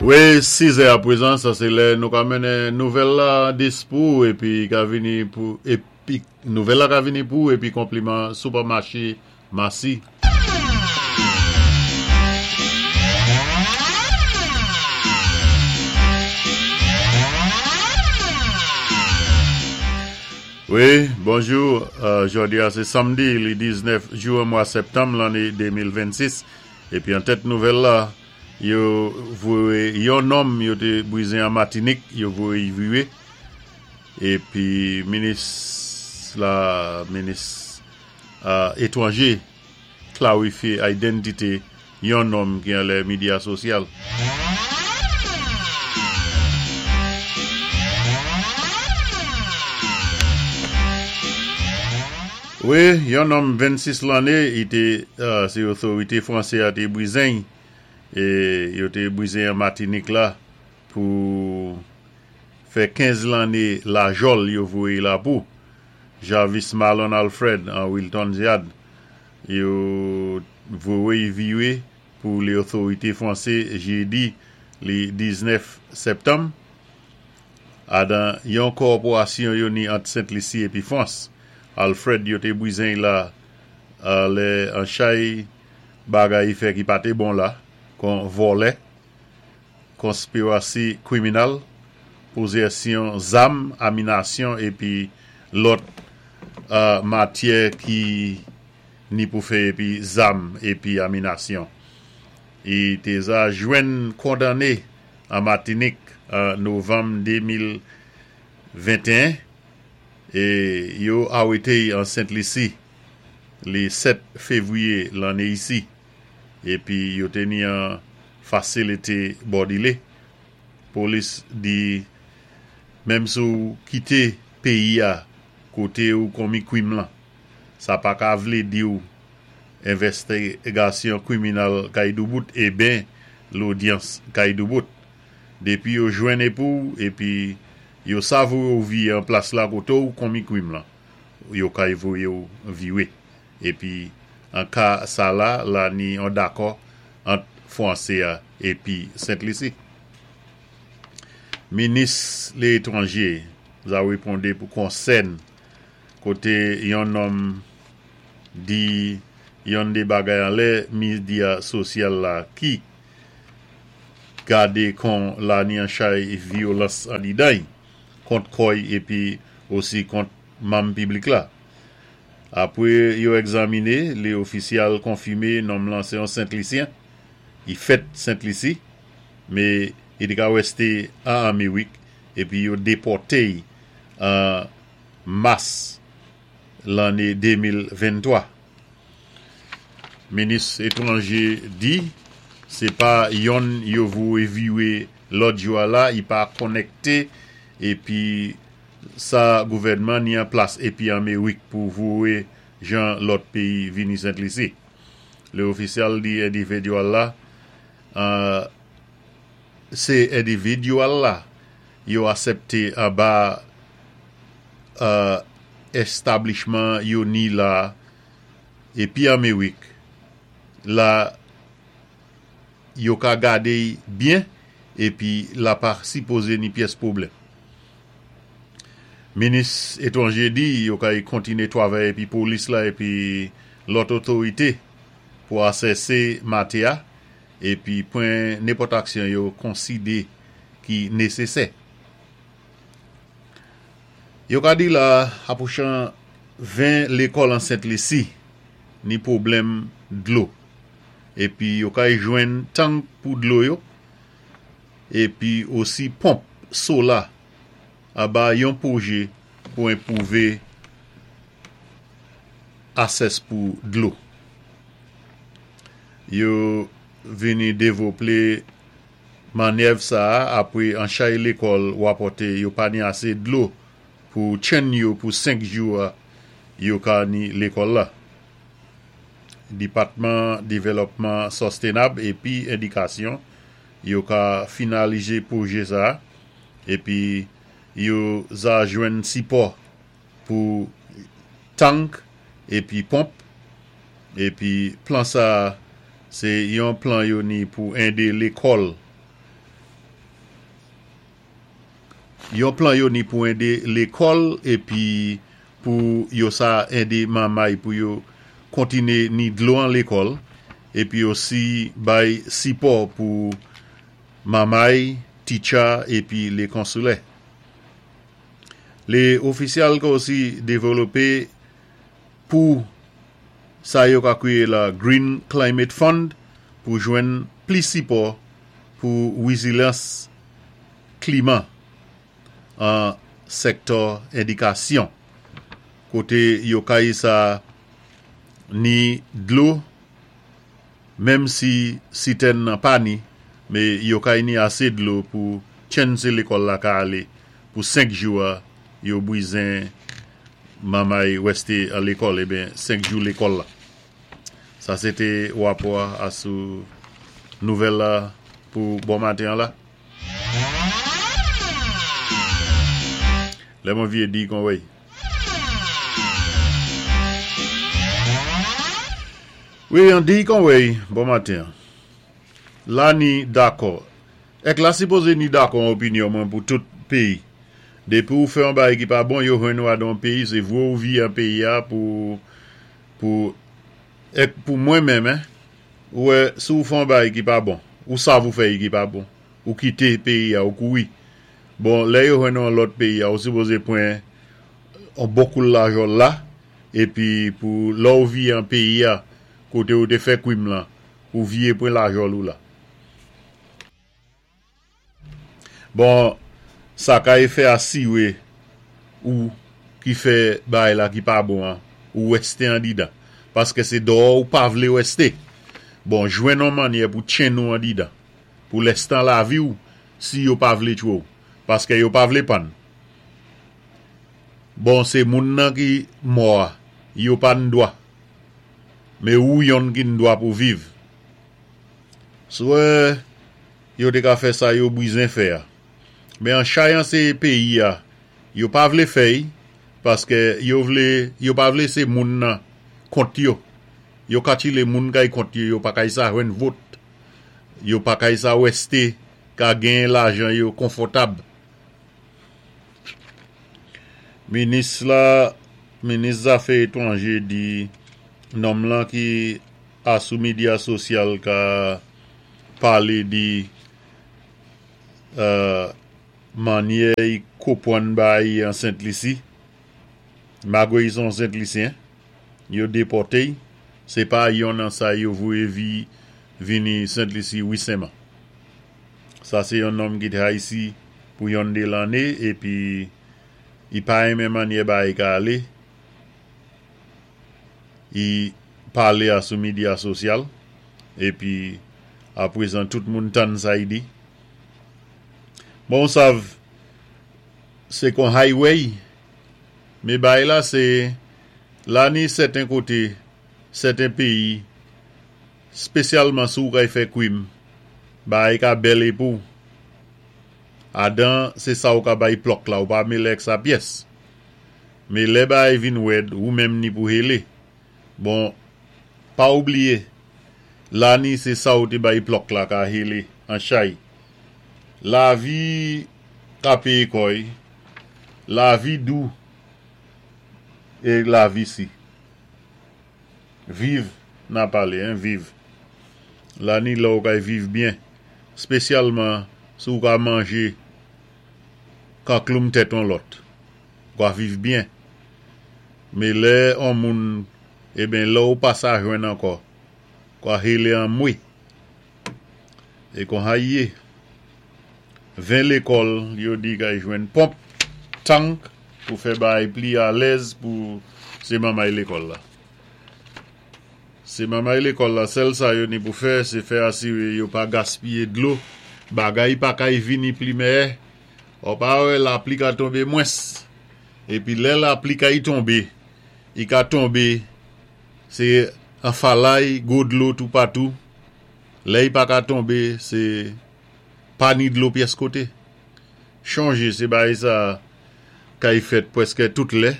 Wi, 6 è aprezan, sa sé lè nou ka mennen nouvèl la dispou épi ka vini pou épi nouvèl la ka vini pou épi konpliman Supermarché Massy. Wi, bonjou, jòdi a sé samdi li 19 juen mwa sèptanm lanné 2026 épi an tèt nouvèl la Yo voye yon nonm yo te brize an Matinik, yo voye y vire. Epi minis la, minis etwanje klarifye identite yon nonm ki anlè midya sosyal. Wi, yon nonm 26 lanne, i te, se otorite franse a te brizen y. E yo te brize an Matinik la pou fè 15 lanne lajòl yo voye la pou Jarvis Marlon Alfred an Wilton's Yard. Yo voye vire pou le otorite franse jedi li 19 septanm adan yon kòporasyon yo ni ant Sent Lisi epi Frans. Alfred yo te brizen la lè an chay Bagay y fè ki pa té bon la, kon vòlè, konspirasi kwiminal, pozèsyon zam, aminasyon épi lòt matyè ki ni pou fè épi zam épi aminasyon. Y té za jwenn kondanné an Matinik an novanm 2021 é yo awété y an Sent Lisi. Le 7 fevriye lanne isi epi yo te ni an fasilite bòdile. Polis di menm si w kite peyi a kote ou konmi kwim lan, sa pa ka vle di w envèstigasyon kwiminal kay doubout e ben lodyans kay doubout. Depi yo jwenn epou w epi yo savoure w viye an plas la kote w konmi kwim lan. yo kay voye w vire. Epi an ka sa la, la ni yon dakò ant fwanse a epi Sent Lisi. Minis le etranje za reponde pou konsèn kote yon nonm di yon de bagay anlè midya sosyal la ki gade kon la ni an chay vyolans andidan y kont kò y epi osi kont manm piblik la. Apre yo egzamine, le ofisyal konfime nonm lan se yon Sent Lisyen, i fèt Sent Lisi, me i te ka reste an Amerik epi yo depòte y an mas lanne 2023. Minis etranje di se pa yonn yo voye vire lòt jou a la i pa konnekte epi sa gouvènman ni an plas epi Amerik pou voye jan lòt peyi vini Sent Lisi. Le ofisyal di endividyal la se endividyal la yo asepte anba establishman yo ni la epi Amerik la yo ka gade y byen epi la pa sipoze ni pyès pwoblèm. Minis etranje di yo kay kontine twavay epi polis la epi lòt otorite pou asèse mate a epi pran nenpòt aksyon yo konside ki nesesè. Yo ka di la apwochan 20 lekòl an Sent Lisi ni pwoblèm dlo epi yo kay jwenn tank pou dlo yo epi osi ponp sola aba yon pwoje pou enpwouve asès pou dlo. Yo vini devople manyèv sa a apre anchay lekòl rapòte yo pa ni ase dlo pou chenn yo pou 5 jou a yo ka ni lekòl la. Depatman Devèlòpman Sostenab epi Edikasyon yo ka finalize pwoje sa a epi yo za jwenn sipò pou tank epi ponp epi plan sa a se yon plan yo ni pou ede lekòl. Yon plan yo ni pou édé lékòl épi pou yo sa édé manmay pou yo kontiné ni dlo an lékòl épi osi bay sipò pou manmay, titcha épi lé konsilè. Lé ofisyal ka osi dévelopé pou sa yo ka kwiyé la Green Climate Fund pou jwenn plis sipò pou wizilans klima an sèktò édikasyon koté yo kay sa ni dlo menm si sitèn nan pa ni mé yo kay ni asé dlo pou tchenn sé lékòl la ka alé pou 5 jou a yo bwizen manmay wèsté an lékòl eben 5 jou lékòl la. Sa sé té wapò a sou nouvèl la pou bon maten an la. Lè mwen vye di kon wey. Wi an di kon wey bon maten an. La ni dakò. Èk la sipoze ni dakò an opinyon mwen pou tout peyi. Depi ou fè yon bagay ki pa bon yo jwenn ou a dan yon peyi se vwe ou vye an peyi a pou pou èk pou mwen menm hein. Ou wè si ou fè yon bagay ki pa bon, ou sav ou fè yi ki pa bon, ou kite peyi a, ou kouri. Bon, lè yo jwenn ou an lòt peyi a, ou sipoze pran yon bon koul lajan la, epi pou lè ou vye an peyi a, kote ou te fè kwim lan, ou vye pran lajan ou la. Bon sa kay fè asire ou ki fè bagay la ki pa bon an ou reste andidan paske se dòò ou pa vle reste bon jwenn on mannyè pou tchenn ou andidan pou lèstan lavi ou si yo pa vle tchwe w paske yo pa vle pann bon se moun nan ki mò a yo pa n dwa men ou yonn ki n dwa pou viv swe. Yo te ka fè sa yo bwizen fè a. Men an chay anseye peyi a yo pa vle fè y paske yo vle yo pa vle se moun nan kont yo. Yo katile moun kay kont yo yo pa kay sa jwenn vot. Yo pa kay sa weste ka genyen lajan yo konfòtab. Minis la minis zafè etwanje di nonm lan ki a sou medya sosyal ka pale de manyè y kopwann bagay an Sent Lisi. Magre y son Sent Lisyen, yo depòte y, se pa yon nan sa yo voye vi vini Sent Lisi wisenman. Sa se yon nonm ki te Ayiti pou yon de lanne epi y pa renmen manyè bagay ka ale. Y pale a sou medya sosyal epi aprezan tout moun tann sa y di. Bon ou sav se kon highway me bay la se la ni sèten kote sèten peyi spesyalman si ou kay fè kwim bagay ka bèl e pou adan se sa ou ka bay plòk la ou pa mele ak sa pyès. Me lè bagay vin wèd ou menm ni pou hele. Bon pa ou bliye lani se sa ou te bay plòk la ka hele an chay. Lavi ka peye kòy, lavi dou e lavi si. Viv na pale hein viv. Lani lè ou kay viv byen spesyalman si ou ka manje kankloum tèt on lòt. Wa viv byen. Me lè on moun eben lè ou pa sa jwenn ankò kwa hele anmwe. E kon ha ye. 20 lekòl yo di kay jwenn ponp, tank pou fè bagay pli alèz pou se manmay lekòl la. Se manmay lekòl la sèl sa yo ni pou fè se fè asire yo pa gaspiye dlo, bagay pa kay vini pli mèyè. Ou pa wè lapli ka tonbe mwens. Epi lè lapli kay tonbe, i ka tonbe se an falay, gwo dlo toupatou. Lè i pa ka tonbe, se pa ni dlo pyès kote. Chonje se bagay sa kay fèt pwèske tout lè.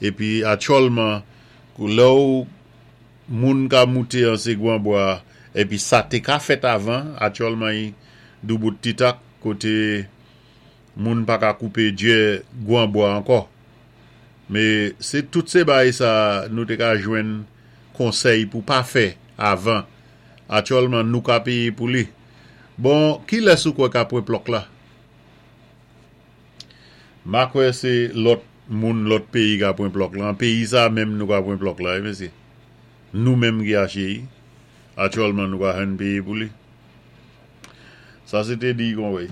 Epi atyòlman, lè ou moun ka moute an se gwan bwa, epi sa te ka fèt avan, atyòlman i doubout titak. Kote Moun pa ka koupé djè gwan bwa ankò. Mé sé tout sé bay sa nou té ka jwenn konsèy pou pa fè avan. Atyòlman nou ka péyé pou li. Bon, kilès ou kwè ka pwan plòk la? Ma kwè sé lòt moun lòt péyi ka pwan plòk la. An péyi sa menm nou ka pwan plòk la wi mesyé. Nou menm ki aché y. Atyòlman nou ka jwenn péyé pou li. Sa sé té di Conway.